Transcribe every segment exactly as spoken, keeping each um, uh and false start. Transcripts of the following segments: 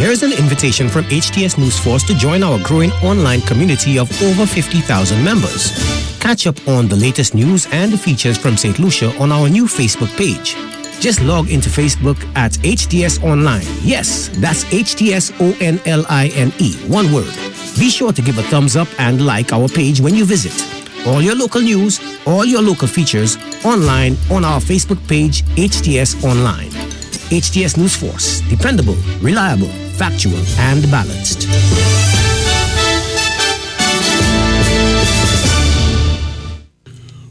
Here's an invitation from H T S News Force to join our growing online community of over fifty thousand members. Catch up on the latest news and features from Saint Lucia on our new Facebook page. Just log into Facebook at H T S Online. Yes, that's H T S O N L I N E, one word. Be sure to give a thumbs up and like our page when you visit. All your local news, all your local features, online on our Facebook page, H T S Online. H T S News Force, dependable, reliable, factual, and balanced.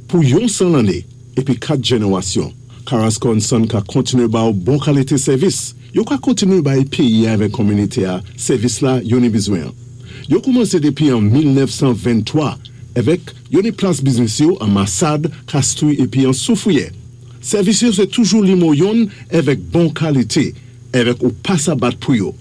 Pou yon san lanné épi kat jénéwasyon, Carrasco and Son ka kontiné ba ou bon kalité sèvis. Yo ka kontiné bay péyi avèk kominité a sèvis la yo ni bizwen. Yo koumansé dépi an mil nèf san venntwa avèk yo ni plas biznis yo an Massade, Castries épi an Soufrière. Sèvis yo sé toujou nimewo youn avèk bon kalité, avèk ou pa sa bat pou yo.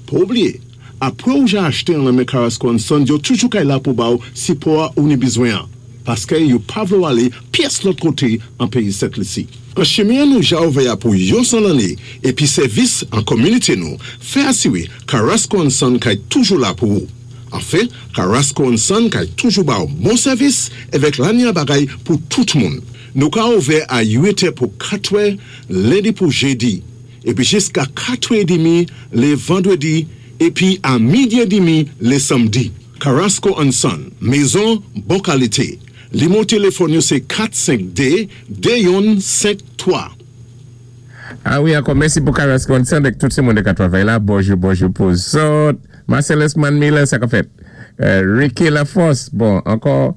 Pa oubliyé, apwé ou ja achté an nan men Carrasco and Son, yo toujou kay la pou ba ou sipò a ou ni bizwen an. Paské yo pa vlé ou alé pyès lòt koté an péyi Sent Lisi. An chimen nou ja ouvè a pou yon san lanné épi sèvis an kominité nou, fè asiwé Carrasco and Son kay toujou la pou ou. Anfen, Carrasco and Son kay toujou ba ou bon sèvis avèk lanya bagay pou tout moun. Nou ka ouvè a uit è pou katwè, lendi pou jédi, épi jiska katwè édmi lé vandwédi, épi a midi édmi lé sanmdi. Carrasco and Son, mézon bon kalité. Nimewo téléfòn yo sé kat senk dé de youn senk twa. Ah wi, ankò mèsi pou Carrasco and Son avèk tout sé moun ka twavay la. Bonjou, bonjou pou zòt. Marcellus Manmiller, sa ka fèt. Euh, Ricky Laforce, bon, ankò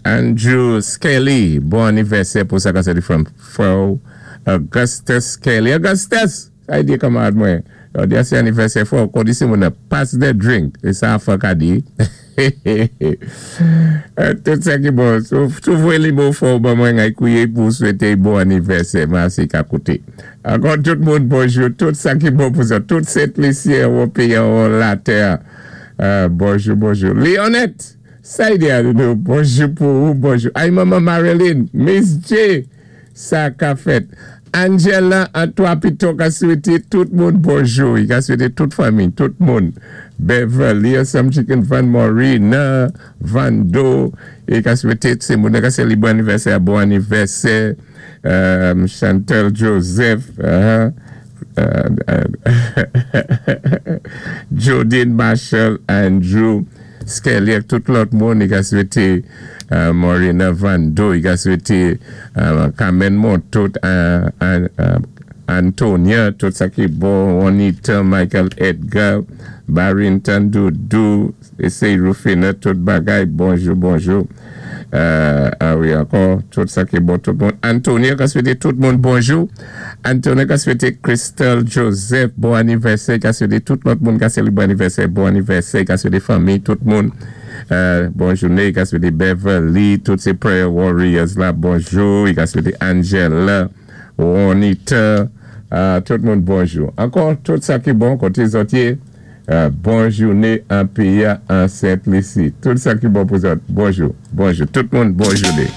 Andrew Skelly, bon anivèsè pou sa ka sé from Fro Augustus Skelly. Augustus! Sa di kanmarad mwen. Yo di sé anivèsè fò, kon di sé moun pass the drink. É sa fò ka di. Tout sa ki bon. Sou voyé limo fò, ban mwen ngay kouye pou swété bon anivèsè. Mèsi ka kouté. Ankò tout moun bonjou. Tout sa ki bon pou sa. Tout Sent Lisyen ou péyi ou latè. Bonjou, bonjou. Leonette! Sa y di a nou. Bonjou pou ou, bonjou. Ay mama Marilyn, Miss J. Sa ka fèt. Angela Antoine Pito ka swété tout moun bonjou. I ka swété tout fanmi, tout moun. Beverly, Some Chicken Van Morina, Vando. I ka swété sé moun ka sé li bon anivèsè, bon anivèsè. Um, Chantel Joseph, uh, uh, uh, Jodine Marshall, Andrew Skelly, ak tout lòt moun, i ka swété uh, Morina Vando, i ka swété uh, Carmen Montot, uh, uh, Antonia, tout sa ki bon, Juanita, Michael Edgar, Barrington Doudou, Essay Rufina, tout bagay, bonjou, bonjou. Euh, ah wi, ankò, tout sa ki bon, tout moun. Antonia ka swété tout moun bonjou. Antonia ka swété Crystal Joseph, bon anivèsè, ka swété tout lòt moun ka swété bon anivèsè, bon anivèsè, ka swété fanmi, tout moun. Euh, bon jouné, ka swété Beverly, tout sé prayer warriors la, bonjou. I ka swété Angela, Juanita, euh, tout moun bonjou. Ankò, tout sa ki bon, koté zòt yé, euh, bon jouné an péyi an Sent Lisi. Tout sa ki bon pou zòt, bonjou, bonjou. Tout moun, bon jouné.